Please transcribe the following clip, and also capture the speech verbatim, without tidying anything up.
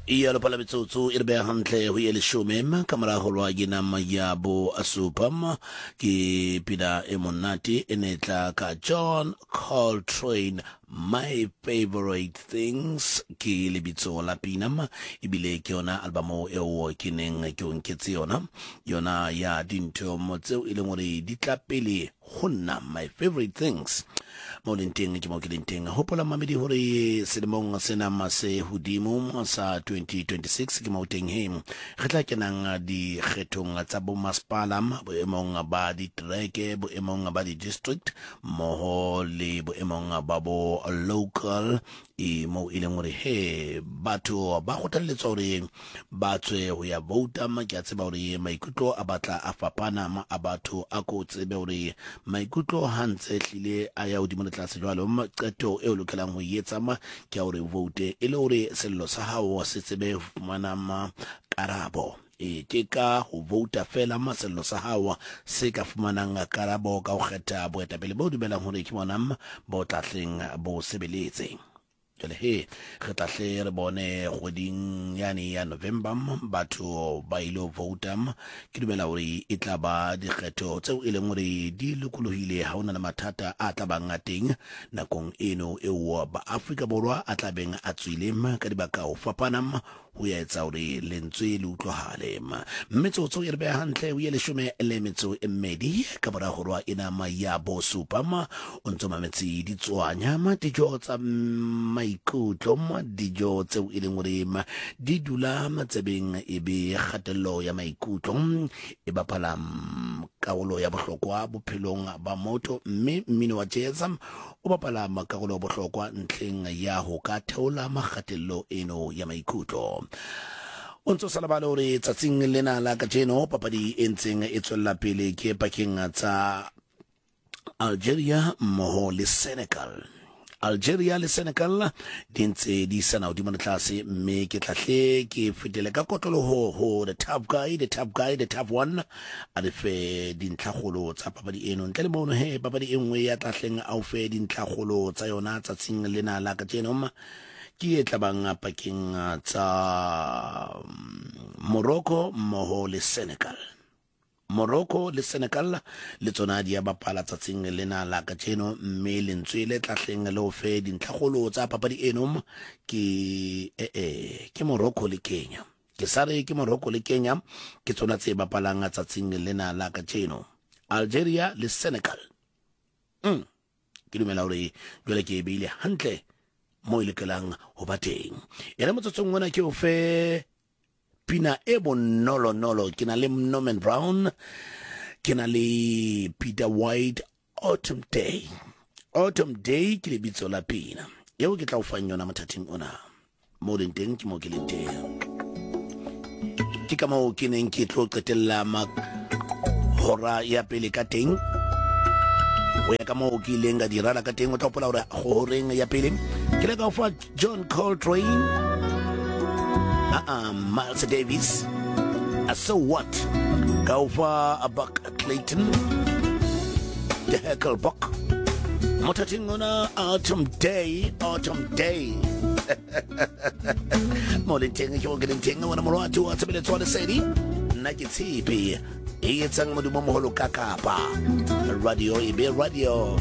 Iya lopala metsotso e re beha hantle ho ye leshome ka mora ho lwa ke nama ya bo supa. Ke pina e monate e ne tla ka John Coltrane, My Favorite Things ke lebitso la pina, ebile ke yona albamo eo ke neng ke o nketse yona, yona ya dintho tseo e leng hore di tla pele ho nna, My Favorite Things. Mo leng teng ke mo ke leng teng. Hopola mamedi hore selemong sena se hodimo sa twenty twenty-six ke mo teng he re tla kenang dikgethong tsa bomasepala boemong ba ditereke, boemong ba di-district mmoho le boemong ba bo local, e moo e leng hore he batho ba kgothalletswa hore ba tswe ho ya vouta. Ke a tseba hore maikutlo a batla a fapana ma a batho, a ko tsebe hore maikutlo ha ntse hlile a ya hodimo le tlase jwalo, qeto e o lokelang ho e etsa ma ke ya hore vote e le hore sello sa hao se tsebe ho fumana ma karabo. E ke ka ho vouta fela sello sa hao se ka fumanang karabo ka ho kgetha boetapele bo dumelang hore ke bona bo tlahleng bo sebeletse. Jwale he re tla hle re bone kgweding yane ya November batho ba ile ho vouta. Ke dumela hore e tla ba dikgetho tseo e leng hore di lokolohile, ha hona le mathata a tla bang a teng nakong eno eo ba Afrika Borwa a tla beng a tswile ka dibaka ho fapana ho ya etsa hore lentswe le utlwahale. Metsotso e re beha hantle ho ye leshome le metso e mmedi ka mora horwa ena ya bosupa. O ntso mametse ditswanya dijo tsa maikutlo, dijo tseo e leng hore di dula matsebeng e be kgatello ya maikutlo e bapala karolo ya bohlokwa bophelong ba motho, mme mmino wa jazz o bapala karolo ya bohlokwa ntlheng ya ho ka theola makgatello eno ya maikutlo. O ntso sa lebale hore tsatsing lena la kajeno papadi e ntseng e tswella pele ke pakeng tsa Algeria mmoho le Senegal. Algeria le Senegal di ntse di isana hodimo le tlase, mme ke tlahle ke fetele ka kotloloho ho the tough guy, the tough guy, the tough one, a le fe dintlhakgolo tsa papadi eno. Ntle le mono he papadi e nngwe ya tlahleng a o fe dintlhakgolo tsa yona tsatsing lena la kajeno ke e tlabang pakeng tsa Morocco mmoho le Senegal. Morocco le Senegal le tsona di a bapala tsatsing lena la kajeno, mme lentswe le tlahleng le o fe dintlhakgolo tsa papadi eno ke eh eh ke Morocco le Kenya. Ke sa re ke Morocco le Kenya ke tsona tse bapalang tsatsing lena la kajeno, Algeria le Senegal. Mm. Ke dumela hore jwale ke e beile hantle mo e lokelang ho ba teng. Ere motsotsong ona ke o fe pina e bonolonolo. Ke na le Norman Brown, ke na le Peter White, Autumn Day. Autumn Day ke lebitso la pina eo ke tla o fang yona mothating ona. Mo leng teng ke mo ke leng teng. Ke ka moo ke neng ke tlo qetella hora ya pele ka teng. Ho ya ka moo ke ileng ka di rala ka teng, o tla hopola hore horeng ya pele ke le ka o fa John Coltrane, uh-uh, Miles Davis, uh, So What, ka o fa Buck Clayton, The Heckle Buck. Mothating ona Autumn Day, Autumn Day. Mo leng teng ke mo ke leng teng, wena morwati wa tshebeletso wa lesedi. Nna ke tshepe e etsang modumo moholo ka kapa radio e be radio.